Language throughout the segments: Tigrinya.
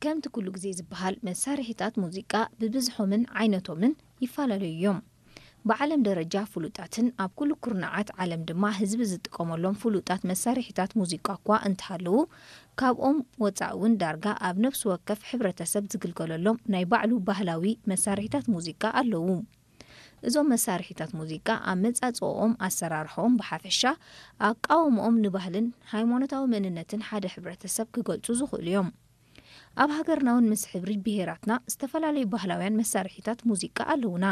ከምቲ ኩሉ ግዜ ዝበሃል፣ መሳርሒታት ሙዚቃ ብብዝሖምን ዓይነቶምን ይፈላለዩ እዮም። ብዓለም ደረጃ ፍሉጣትን ኣብ ኩሉ ኩርናዓት ዓለም ድማ ህዝቢ ዝጥቀመሎም ፍሉጣት መሳርሒታት ሙዚቃ እኳ እንተሃለዉ፣ ካብኦም ወጻኢ እውን ዳርጋ ኣብ ነፍሲ ወከፍ ሕብረተሰብ ዝግልገለሎም ናይ ባዕሉ ባህላዊ መሳርሒታት ሙዚቃ ኣለዉ። እዞም መሳርሒታት ሙዚቃ ኣመጻጽኦኦም፣ ኣሰራርሖኦም ብሓፈሻ ኣቃውምኦም ንባህልን ሃይማኖታዊ መንነትን ሓደ ሕብረተሰብ ክገልጹ ዝኽእሉ እዮም። ኣብ ሃገርና እውን ምስ ሕብሪ ብሄራትና ዝተፈላለዩ ባህላውያን መሳርሒታት ሙዚቃ ኣለዉና።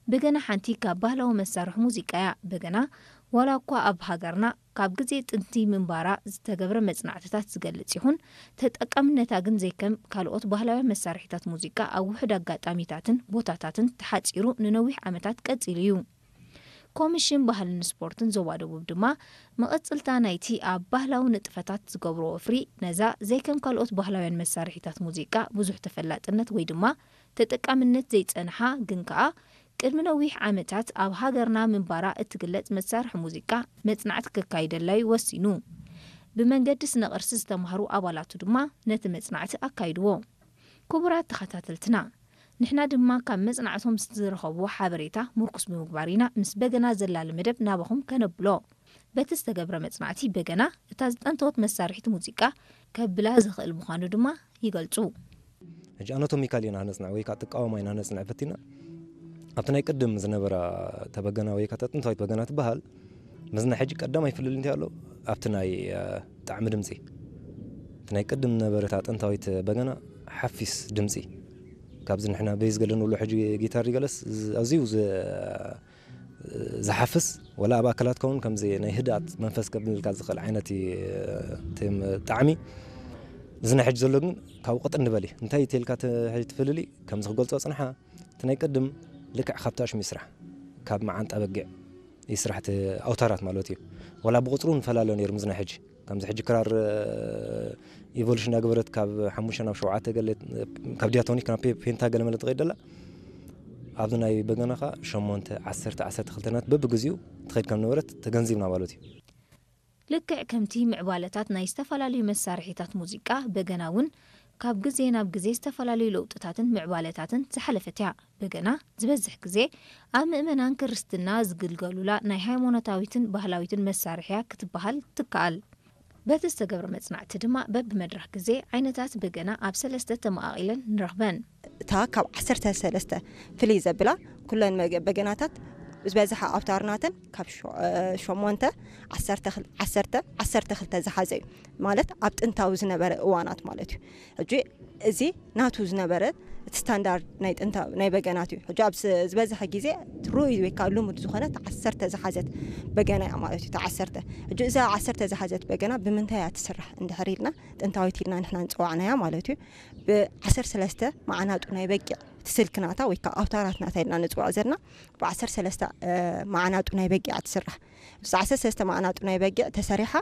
በገና ሓንቲ ካብ ባህላዊ መሳርሒ ሙዚቃ እያ። በገና ዋላ እኳ ኣብ ሃገርና ካብ ግዜ ጥንቲ ምንባራ ዝተገብረ መጽናዕትታት ዝገልጽ ይኹን፣ ተጠቃምነታ ግን ዘይከም ካልኦት ባህላውያን መሳርሒታት ሙዚቃ ኣብ ውሑድ ኣጋጣሚታትን ቦታታትን ተሓጺሩ ንነዊሕ ዓመታት ቀጺሉ እዩ። ኮሚሽን ባህልን ስፖርትን ዞባ ደቡብ ድማ መቐጽልታ ናይቲ ኣብ ባህላዊ ንጥፈታት ዝገብሮ ወፍሪ ነዛ ዘይከም ካልኦት ባህላውያን መሳርሒታት ሙዚቃ ብዙሕ ተፈላጥነት ወይ ድማ ተጠቃምነት ዘይጸንሓ ግን ከኣ ቅድሚ ነዊሕ ዓመታት ኣብ ሃገርና ምንባራ እትግለጽ መሳርሒ ሙዚቃ መጽናዕቲ ከካይደላ እዩ ወሲኑ። ብመንገዲ ስነ ቅርሲ ዝተማህሩ ኣባላቱ ድማ ነቲ መጽናዕቲ ኣካይድዎ። ክቡራት ተኸታተልትና፣ ንሕና ድማ ካብ መጽናዕቶም ዝረኸብዎ ሓበሬታ ምርኩስ ብምግባር ኢና ምስ በገና ዘላሊ መደብ ናባኹም ከነብሎ። በቲ ዝተገብረ መጽናዕቲ በገና እታ ዝጠንተወት መሳርሒት ሙዚቃ ከብላ ዝኽእል ምዃኑ ድማ ይገልጹ። ሕጂ ኣናቶሚካሊ ኢና ነጽንዕ ወይ ከዓ ጥቃወማ ኢና ነጽንዕ ፈቲና። ኣብቲ ናይ ቅድም ዝነበራ ተበገና ወይ ከዓ ጥንታዊት በገና ትበሃል፣ ምስና ሕጂ ቀዳማይ ፍልል እንታይ ኣሎ? ኣብቲ ናይ፣ እ፣ ጣዕሚ ድምጺ። እቲ ናይ ቅድም ዝነበረት ጥንታዊት በገና ሓፊስ ድምጺ። ካብዚ ንሕና ቤዝ ገለ ንብሎ ሕጂ ጊታር ገለስ ዝ-፣ ኣዝዩ ዝ-፣ ዝሓፍስ፣ ወላ ኣብ ኣካላት ከውን ከምዚ ናይ ህድኣት መንፈስ ከብልልካ ዝኽእል ዓይነት እዩ፣ እቲ ጣዕሚ። እዚ ናይ ሕጂ ዘሎ ግን ካብኡ ቅጥን ዝበል እዩ። እንታይ ተልካ ተ-፣ ሕጂ ትፍልሊ? ከምዚ ክገልጾ ጽንሓ፣ እቲ ናይ ቅድም ልክዕ ካብቲ ኣሽሙ ይስራሕ። ካብ መዓንጣ በጊዕ ይስራሕ፣ እቲ ኣውታራት ማለት እዩ። ወላ ብቁጽሩ ንፈላለ ነይሩ ምስ ናይ ሕጂ። ከምዚ ሕጂ ክራር፣ እ፣ ኢቮሉሽን እንዳገበረት ካብ ሓሙሽተ ናብ ሸውዓተ ገለ፣ ካብ ዲያቶኒክ ናብ ፔ-፣ ፔንታ ገለ መለ ትኸይድ ደላ። ኣብዚ ናይ በገና ኸኣ ሸሞንተ፣ ዓሰርተ፣ ዓሰርተ ክልተ ናት በብግዚኡ ትኸይድ ከም ነበረት ተገንዚብና ማለት እዩ። ልክዕ ከምቲ ምዕባለታት ናይ ዝተፈላለዩ መሳርሒታት ሙዚቃ፣ በገና እውን ካብ ግዜ ናብ ግዜ ዝተፈላለዩ ለውጥታትን ምዕባለታትን ዝሓለፈት እያ። በገና ዝበዝሕ ግዜ ኣብ ምእመናን ክርስትና ዝግልገሉላ ናይ ሃይማኖታዊትን ባህላዊትን መሳርሒ እያ ክትበሃል ትከኣል። በቲ ዝተገብረ መጽናዕቲ ድማ በብመድረኽ ግዜ ዓይነታት በገና ኣብ ሰለስተ ተመቓቒለን ንረኽበን። እታ ካብ ዓሰርተ ሰለስተ ፍልይ ዘብላ፣ ኩለን መገ-፣ በገናታት ዝበዝሐ ኣውታርናተን ካብ ሸ-፣ እ፣ ሸሞንተ፣ ዓሰርተ ክል-፣ ዓሰርተ፣ ዓሰርተ ክልተ ዝሓዘ እዩ። ማለት ኣብ ጥንታዊ ዝነበረ እዋናት ማለት እዩ። ሕጂ እዚ ናቱ ዝነበረ እቲ ስታንዳርድ ናይ ጥንታዊ ናይ በገናት እዩ። ሕጂ ኣብ ስ-፣ ዝበዝሐ ግዜ ርኡይ ወይ ከዓ ልሙድ ዝኾነ እታ ዓሰርተ ዝሓዘት በገና እያ ማለት እዩ። እታ ዓሰርተ። ሕጂ እዛ ዓሰርተ ዝሓዘት በገና ብምንታይ እያ ትስራሕ እንድሕር ኢልና፣ ጥንታዊት ኢልና ንሕና ንፅዋዕናያ ማለት እዩ። ብዓሰርተ ሰለስተ መዓናጡ ናይ በጊዕ እቲ ስልክናታ ወይ ከዓ ኣውታራትናታ ኢልና ንፅዋዕ ዘለና ብዓሰርተ ሰለስተ፣ እ፣ መዓናጡ ናይ በጊዕ ትስራሕ። ብዓሰርተ ሰለስተ መዓናጡ ናይ በጊዕ ተሰሪሓ